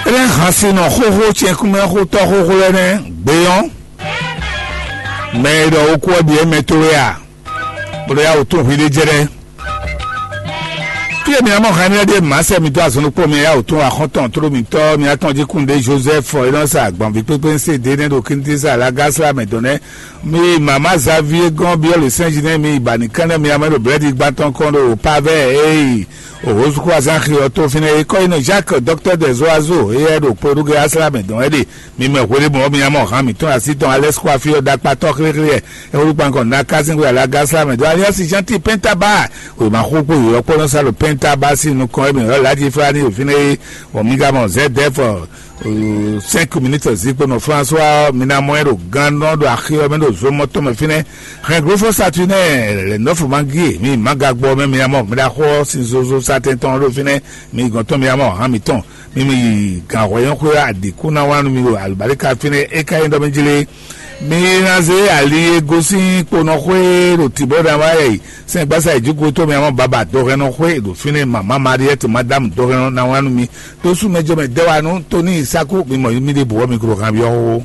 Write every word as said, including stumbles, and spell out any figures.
Énɛ́ hǎn sin nɔ xóxó cɛnkúmɛ xótɔ́ xóxó lɛ́ɛ nɛ́ gbeyɔ́n. Mɛ e ɖɔ wokú ɔ́ ɖi émɛ towe a? Bó ɖo yá wǔtún hwi ɖé jɛ ɖɛ́. Fí e mi ná mɔ hɛn énɛ́ ɖíe mǎ sɛ mi dó azɔn ɖokpó mi yá wǔtún axɔ́ntɔn tló mitɔ́ mi atɔn jí kún ɖé Joseph e nɔ sa gbɔn vǐ kpékpé ń se ɖě nɛ́ ɖo Kintísa Lagasla mɛ dɔn nɛ́. Mi mama Xavier gɔn byɔ́ le sɛnji nɛ́ mi ba nǐ kán nɛ́ mi amɛ ɖo blɛ́ɖi gbantɔn kɔn ɖo pavɛ ee. Òhózúkú azán xi ɔ́ tó fínɛ́ é kɔ́ yi nɔ Jacques, docteur des oiseaux, éyɛ́ ɖo kplɔ́ɖúgɛ asla mɛ dɔn wɛ ɖe. Mi mɛ hweɖé mɔ̌ mi amɔ hǎn mǐtɔn así tɔn alɛ́sukú afí ɔ́ ɖakpatɔ́ xléxlé ɛ é wú kpankɔ nǎ kásín xwe alagásla mɛ dɔn aliɔ́si Jean-Ti Pɛntabaa. Wěma xóxó yǒyɔ́ kpɔ́nɔ́ sá ɖo Pɛntabaa sín nukɔn émí ɔ́ Ladi Flani ɖo fínɛ́ é. Bɔ mi ka mɔ Zɛdɛ́f cinq minutes zikpo nɔ François mi ná mɔ ɛ ɖo gannɔ ɖo axi ɔ́ mɛ ɖo zomɔ tɔn mɛ fínɛ́. Hɛn glófɔ Saturnin lɛ nɔ́fɔ ma gíe mi ma gagbɔ mɛ mi amɔ mi ɖaxɔ sin zozo satɛn tɔn ɖo fínɛ́. Mi gɔn tɔn mi amɔ hǎn mǐtɔn. Mi mi yi gǎnhwɛ́nyɔ́xwé ɔ́ aɖǐkú ná wá nú mi ɖo alǔbaríka fínɛ́ é ka nyí ɖɔ mɛ jlé. Mi ná zé ali e gosín kponɔxwé ɖo tǐbɔ́ ná wá yɛ sɛngbásá yi jǐxwé tó mi amɔ baba dɔhɛnnɔxwé ɖo fínɛ́ mama Mariɛ́t madámu dɔhɛnnɔ ná wá nú mi. Tó sú mɛ jɔ mɛ dɛ́ wá nú Tóni Sáku mi mɔ mi ɖěbǔ ɔ́ mi klo han byɔ́ xóxó.